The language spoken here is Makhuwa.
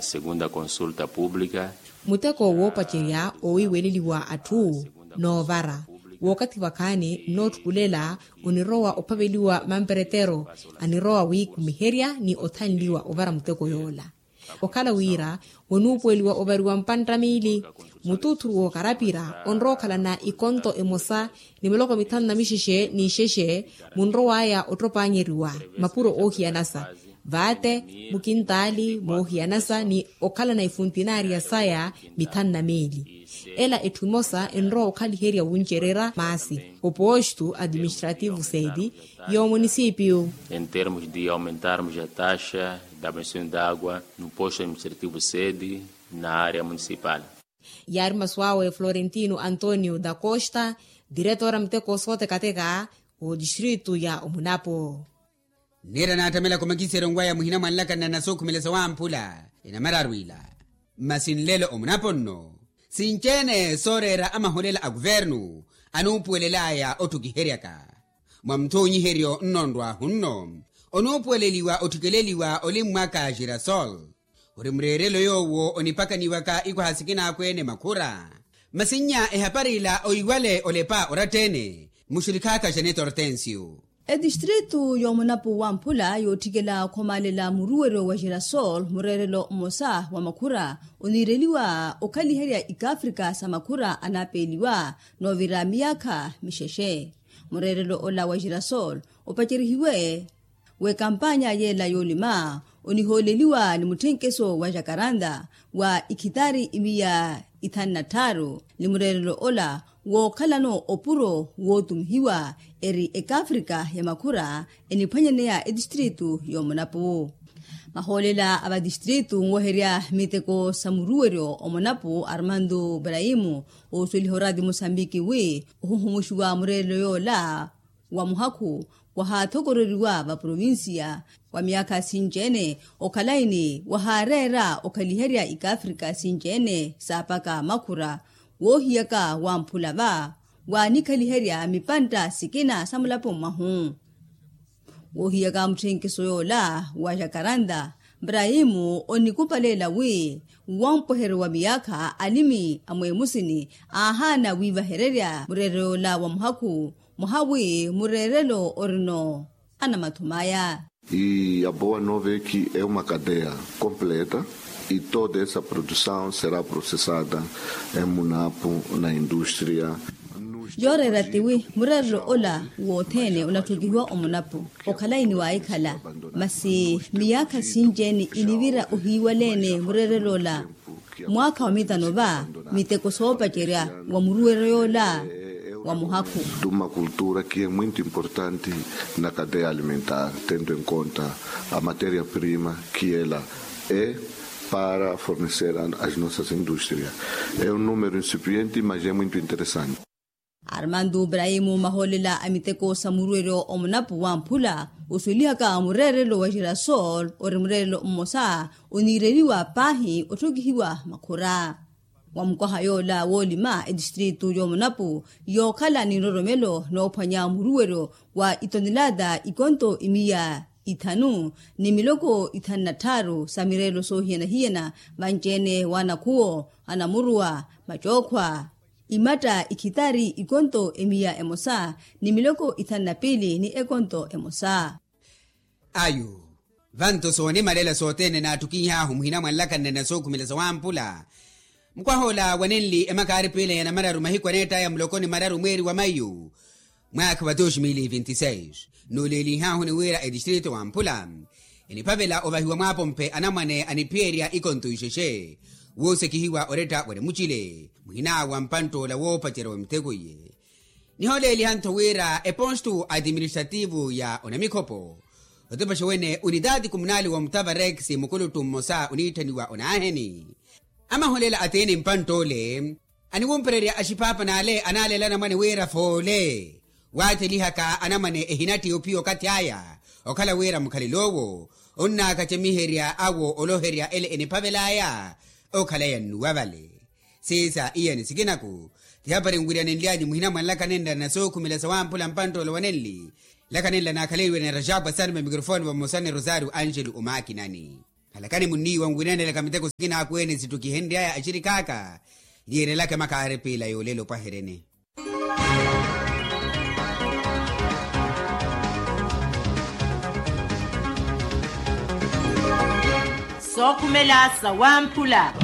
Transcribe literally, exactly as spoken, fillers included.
Segunda consulta pública. Muteko woopacerya owiiweleliwa atthu noovara wookathi vakhaani nnootthukulela onirowa ophaveliwa mamperetero anirowa wiikhumiherya ni othanliwa ovara muteko yoola. Okhala wira wonuupuweliwa ovariwa mpantta miili mutuuthuru wookarapira onrowa okhalana ikonto emosa ni miloko mithanu na mixexe n'ixexe munrowaya ottopaanyeriwa mapuro oohiyanasa vaate mukintaali moohiyanasa ni okhalana ifuntinariya saya mithanu na miili. Ela etthu emosa enrowa okhaliherya wuncererya maasi opoostu administrativu seeti y'omunisipiyu. Em termos de aumentarmos a taxa da bensin d'agua no posto administrativo sede na área municipal. Yaari masu awe florentino antonio da costa diretora miteko sootekateka otistritu ya omunapo. Nniira naattamela komakiseryo nwa ya muhina mwa nlakanna na sookhumela sawamphula enamararu ila. Masi nlelo omunapo nno sinci-ene sooreera amaholela a kuvernu anuupuwelelaya otthukiheryaka mwa muthoonyiheryo nnonrwahu nno onuupuweleliwa otthikeleliwa olimmwaka girasol ori mureerelo yoowo onipakaniwaka ikwaha sikina akweene makhura. Masi nnya ehapari ila oiwale olepa oratta-ene muxurikhaka janet hortensio. Etistritu y'omunapu wamphula yootthikela okhomaalela muruweryo wa girasol mureerelo mmosa wa makhura oniireliwa okhaliherya ikaafrika sa makhura anaapeeliwa noovira miyaakha mixexe. Mureerelo ola wa girasol opacerihiwe w'ekampanya yeela yoolima onihooleliwa ni mutthenkeso wa jakaranda wa ikhitari imiya ithanu na tthaaru ni mureerelo ola wookhalano opuro wootumihiwa eri ekaafrika ya makhura eniphwanyaneya etistritu y'omunapu. Mahoolela a vatistritu nweherya miteko sa muruweryo omunapu armando braimu oosweliha oraati musambiki wi ohuhumuxiwa mureerelo yoola wa muhakhu wahaathokoreriwa vaprovinsiya wa miyaakha sinci-ene okhalayi ni wahaareera okhaliherya ikaafrika sinci-ene saapaka makhura woohiyaka wamphula va waanikhaliherya mipantta sikina sa mulapo mwahu. Woohiyaka mutthenkiso yoola wa jakaranda mbrahimu onikupaleela wi wampweheryo wa miyaakha alimi a mweemusini aahaana wiivahererya mureerelo yoola wa muhakhu mwaha wi mureerelo orino anamathumaya. E a boa nova é que é uma cadeia completa e toda essa produção será processada em munapu na indústria. Yooreera tiwi mureerelo ola wothene onatthukihiwa omunapu okhalayi ni waahikhala masi miyaakha sinci-ene inivira ohiiwaleene mureerelo ola mwaakha wa mitano va miteko soopacerya wa muruweryo yoola wa muhakhu. De uma cultura que é muito importante na cadeia alimentar tendo em conta a matéria prima que ela é para fornecer as nossas indústrias. É um número incipiente mas é muito interessante. Armando braimu mahoolela a miteko sa muruweryo omunapu wamphula oswelihaka mureerelo wa girasol ori mureerelo mmosa oniireliwa paahi otthokihiwa makhura. Wa mukwaha yoola woolima etistritu y'omunapu yookhala ni nroromelo noophwanya muruweryo wa itonelata ikonto imiya ithanu ni miloko ithanu na tthaaru sa mireerelo soohiyana-hiyana vanci-ene w'anakhuwo anamuruwa macookhwa imatta ikhitari ikonto emiya emosa ni miloko ithanu na piili ni ekonto emosa. Ayu vanto soonimalela sothene naattukinyihaahu muhina mwa nlakanna na sookhumela sawamphula. Mukwaha ola wanenli emakaari piila ya namararu mahiku aneettaya muloko ni mararu mweeri wa mayu mwaakha wa dos mil e vinti seis nuuleelihahu ni wira etistritu wamphula eniphavela ovahiwa mwaapompe anamwane aniphiyerya ikonto ixexe woosekihiwa oretta wari mucile muhina wa mpantt'ola woopacerya wa miteko iye. Nihooleeliha-ntho wira epostu administrativu ya onamikhopo otepaxa wene unitaati kumunali wa mutavarex mukuluttu mmosa oniitthaniwa onaaheni amahoolela atiini mpantt'ole aniwumpererya axiphaapha n'ale anaaleela anamwane wira foole waathelihaka anamwane ehinatthi ophiya okathi aya okhala wira mukhalelo owo onnaakacemiherya awo oloherya ele eniphavel'aya okhala yannuwa vale. Siisa iyani sikinaku tihapari nwiryanenly'anyu muhina mwa nlaka nenla na sookhumela sawamphula mpantt'ole wa nenli. Nlaka nenla naakhaleliwe ni rajabu asanima mikrofoni vamosa ni rosario angelo omaakinani. Khalakani munniiwa nwinanelaka miteko sikina akweene sittukihenry'aya axirik'aka. Niirelaka emakaari piila yoolelo opwaheryeni. Sookhumela sawamphula.